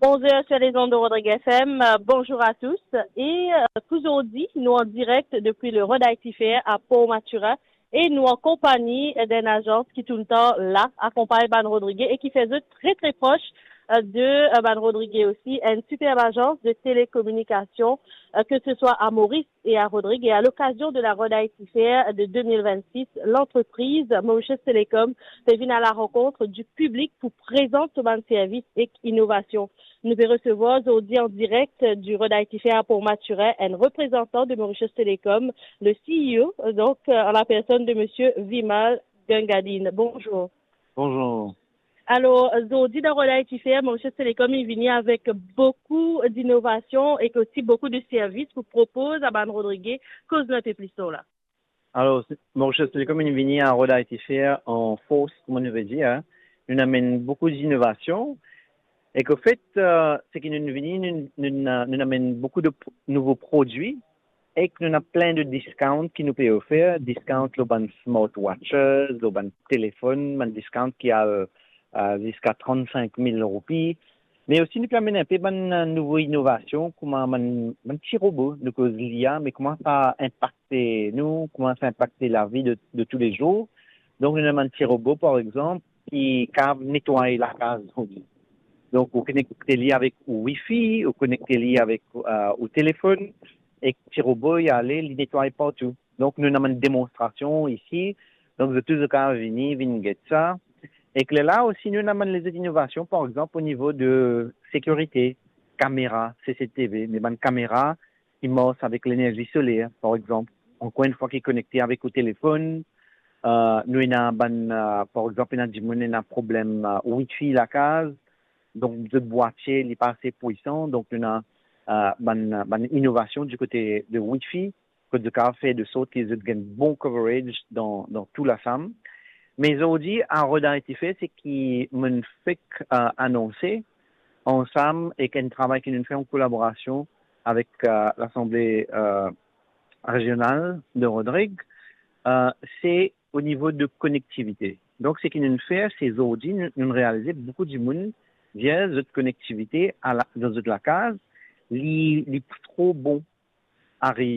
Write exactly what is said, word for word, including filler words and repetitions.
Onze heures sur les ondes de Rodrigue F M. Euh, bonjour à tous. Et euh, pour aujourd'hui, nous en direct depuis le Rod I T Fair à Port Mathurin. Et nous en compagnie d'un agence qui tout le temps là, accompagne Ban Rodriguez et qui fait très très proche euh, de euh, Ban Rodriguez aussi, une superbe agence de télécommunication, euh, que ce soit à Maurice et à Rodriguez. Et à l'occasion de la Rod I T Fair de deux mille vingt-six, l'entreprise Mauritius Telecom pe vinn à la rencontre du public pour présenter son bann servis ek inovasion. Nou pe resevwar zordi an direk du Rod I T Fair à Port Mathurin, un représentant de Mauritius Telecom, le C E O, donc euh, en la personne de Monsieur Vimal Gangadine. Bonjour. Bonjour. Alor, zordi dan Rod I T Fair, Mauritius Telecom inn vini avek boukou dinovasion ek osi boukou de servis pou propoz a Ban Rodriguez. Koz nou inpe plis lor la. Alor, se- Mauritius Telecom inn vini a Rod I T Fair an fors, kouma nou pe dir, hein. Nou amenn boukou dinovasion. Ek anfet, euh, seki nou vini, nou, nou, nou amenn boukou de p- nouvo prodwi. Ek nou ena plin de discount ki nou pe ofer, discount lor bann smartwatches, lor bann telefonn, bann discount ki al euh, ziska trant-sink mil roupi. Me osi nou pe amenn inpe bann euh, nouvo inovasion, kouma bann, bann ti robo, nou koz l'I A, me kouma sa inpakte nou, kouma sa inpakte lavi de, de toulezour. Donk nou ena bann ti robo, par exanp, ki kav netway lakaz. Donk ou konekte li avek ou wifi, ou konekte li avek euh, ou telefonn, ek ti robo li ale, li netway partou. Donk nou ena bann demonstrasion isi, donk zot tou zot kav vini, vinn get sa. Ek lerla osi nou ena bann lezot inovasion, par exanp o nivo de sekirite, kamera, C C T V, me bann kamera ki mars avek lenerzi soler, par exanp, ankor enn fwa ki konekte avek ou telefonn. Euh, nou ena bann, euh, par exanp, ena dimoun ena problem euh, wifi lakaz, donk zot bwatie li pa ase pwisan, donk nou ena euh, bann, bann inovasion di kote de wifi, kot zot kav fer de sort ki zot gagn bon coverage dan, dan tou lasam. Me zordi, a Rod I T Fair, seki mo'nn fek euh, anonse, ansam ek enn travay ki nou fer an kolaborasion avek euh, Lasanble euh, Rezional de Rodrig, euh, se o nivo de konektivite. Donk seki nou fer, se zordi nou, nou realize boukou dimoun dir zot konektivite a la, dan zot lakaz, li, li pa tro bon ariv